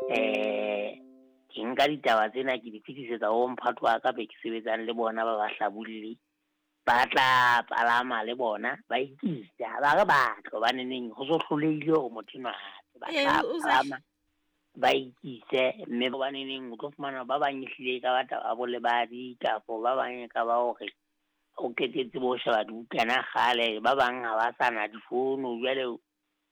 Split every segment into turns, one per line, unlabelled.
Ke nka ditaba tsena ke di fetisetsa ho mphato wa ka be ke sebetsang le bona ba bahlabulli. Ba tla palama le bona ba ikisa, ha ba re batle hobaneneng ho so hlolehile hore motho enwa a tle. Ba tla palama ba ikise, mme hobaneneng o tlo fumana ba bang ehlile e ka ba taba ya bolebadi kapo ba bang e ka ba hore o qetetse bo sheba dibukana kgale, ba bang ha ba sa na difono jwale o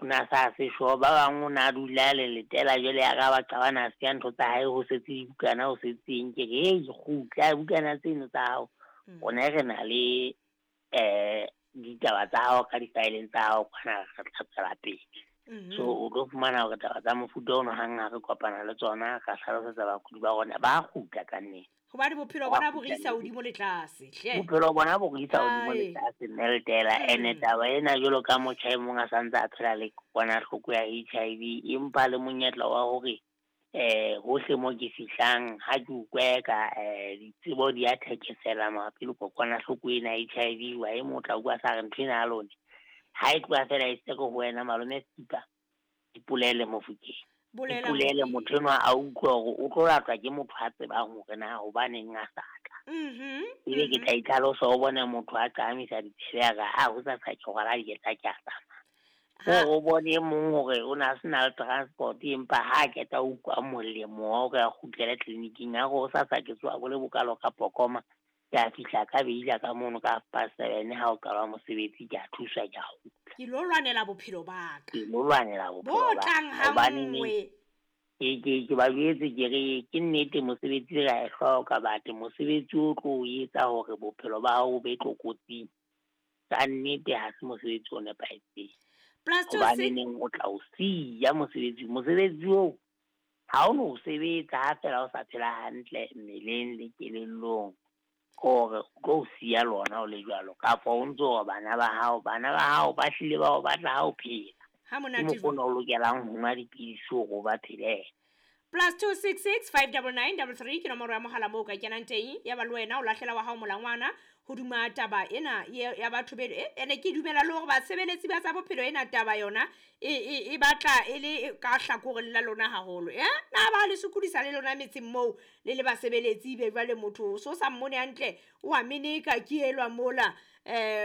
na sa se sure, ba bang o na dula le letela jwale ya ka ba qabana a siya ntho tsa hae ho setse dibukana ho setseng. Ke re hei kgutla bukana tseno tsa hao, rona re na le ditaba tsa hao ka di-file tsa hao kwana re tla tswela pele. So o tlo fumana hore taba tsa mofuta ono hang ha re kopana le tsona ra hlalosetsa bakudi ba rona ba kgutla ka nnete.
Hobane bophelo bona bo re isa hodimo le tlase hle.
Bophelo bona bo re isa hodimo le tlase mme le tela. Ene taba ena jwalo ka motjha e mong a santse a phela le kokwanahloko ya HIV, empa le monyetla wa hore hohle mo ke fihlang ha ke utlwe ka ditsebo di a thekesela mabapi le kokwanahloko ena HIV, wa e motla utlwa sa re ntho ena ya lone ha e tloha fela e se ho wena malome Skipa, ipolele Mofokeng. Ipolele motho enwa a utlwe hore o tlo latwa ke motho a tsebang hore na hobaneng a sa tla. Ebe ke tla itlhalosa o bone motho a qahamisa ditsebe a re a ho sa sa ke rwala dieta ke a tsamaya. O bone e mong hore o na se na le transport empa ha a qeta ho utlwa molemo wa hore a kgutlele tleliniking a re ho sa sa ke tsoha bo le bokalo ka pokoma, ke a fihla ka beila ka mono ka 7:30 ha o qalwa mosebetsi ke a thuswa ke a kgutla.
Ke lo lwanela bophelo ba ka.
Ke lo lwanela bophelo ba ka. Hobane ke ba jwetse ke re ke nnete mosebetsi re a e hloka, but mosebetsi o tlo o etsa hore bophelo ba hao bo be tlokotsing. Ka nnete ha se mosebetsi o nepahetseng. Hobane neng o tla o siya mosebetsi, mosebetsi oo ha o no sebetsa ha fela o sa phela hantle mmeleng le kelellong, hore o tlo o siya lona o le jwalo, kapa o ntso hore bana ba hao ba hlile ba o batla ha o phela.
Ha monate
Ke mokgwa o lokelang ho nwa dipidisi hore o ba phelele.
+266 599 33 ke nomoro ya mohala moo ka kenang teng. Ya ba le wena o lahlela wa hao molangwana hodima taba ena ya batho be ene ke dumela le hore basebeletsi ba tsa bophelo ena taba yona e batla e le ka hlakoreng la lona haholo. Na ba le sokodisa le lona metseng moo le le basebeletsi be jwale motho so sa mmone hantle o a meneka ke elwa mola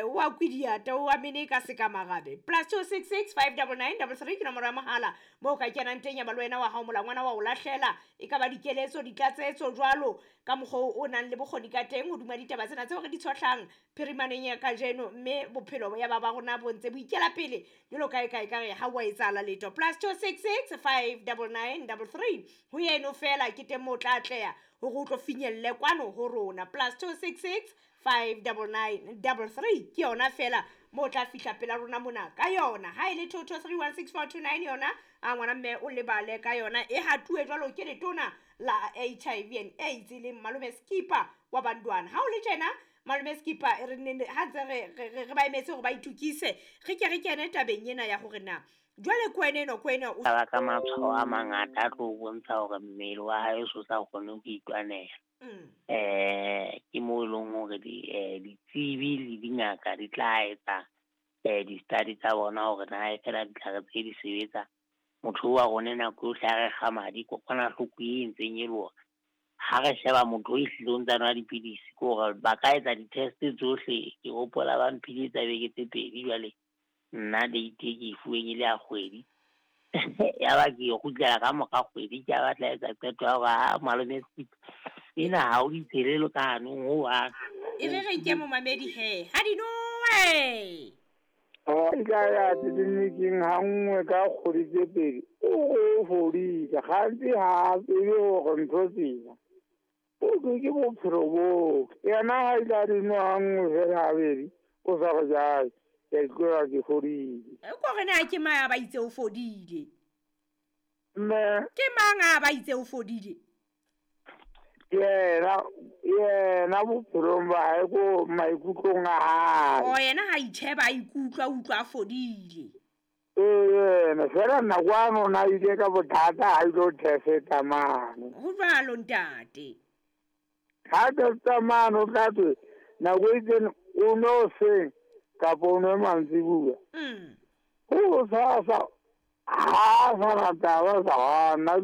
o a kwidiata o a meneka seka marabe. +266 599 33 ke nomoro ya mohala moo ka kenang teng. Ya ba le wena wa hao molangwana wa o lahlela e ka ba dikeletso ditlatsetso jwalo ka mokgwa o nang le bokgoni ka teng hodima ditaba tsena tseo re di tshohlang phirimaneng ya kajeno, mme bophelo ya ba ba rona bo ntse bo ikela pele jwalo ka e ka ekare ha wa etsahala letho. +266 599 33 ho eno fela ke teng moo o tla atleha hore o tlo finyelle kwano ho rona. +266 599 33 ke yona fela moo tla fihla pela rona mona ka yona. Ha e le 22316429 yona a ngwana mme o lebale ka yona e hatuwe jwalo ke letona la HIV and AIDS le malome Skipa wa Bandwana. Ha o le tjena malome Skipa re ne ha ntse re ba emetse hore ba itukise, re ke re kene tabeng ena ya hore na jwale kwene eno kwene o
ba ka matshwao a mangata a tlo bontsha hore mmele wa hae o sa kgone ho itwanela. Ke mo e leng hore ditsebi le dingaka di tla etsa di-study tsa bona hore na e fela ditlhare tse di sebetsa. Motho wa rona nako yohle ha re kga madi kokwanahloko e ntseng e le hore ha re sheba motho o ehlile o ntsa nwa dipidisi ke hore ba ka etsa di-test tsohle. Ke hopola ba mphile tsa beke tse pedi jwale nna date e ke e fuweng e le ya kgwedi. Ya ba ke kgutlela ka mora kgwedi ke a batla etsa qeto ya hore ha malome Skipa ena ha o ditshelelo ka hanong ho hang.
E re re nke momamedi he ha di nowe.
Nka ya tleliniking ha nngwe ka kgwedi tse pedi o fodile gantsi ha tsebe hore ntho tsena o ke ke bophelo boo. Yena ha ile a di nwa ha nngwe fela habedi o sa re jae ke a ikutlwa ke fodile.
Ko re na ke mang a ba itse o fodile?
Mme
ke mang a ba itse o fodile?
Yena bophelong ba hae ko maikutlong a hae.
O yena ha itjheba a ikutlwa utlwa a fodile.
Yena fela nna kwano na ile ka bothata ha ilo test-a mane.
Ho jwalo ntate.
Ha test-a mane o tla thwe nako e itseng o no seng kapa o nwe mantsibuya. Ho sa sa ha sa rata ba sa nna.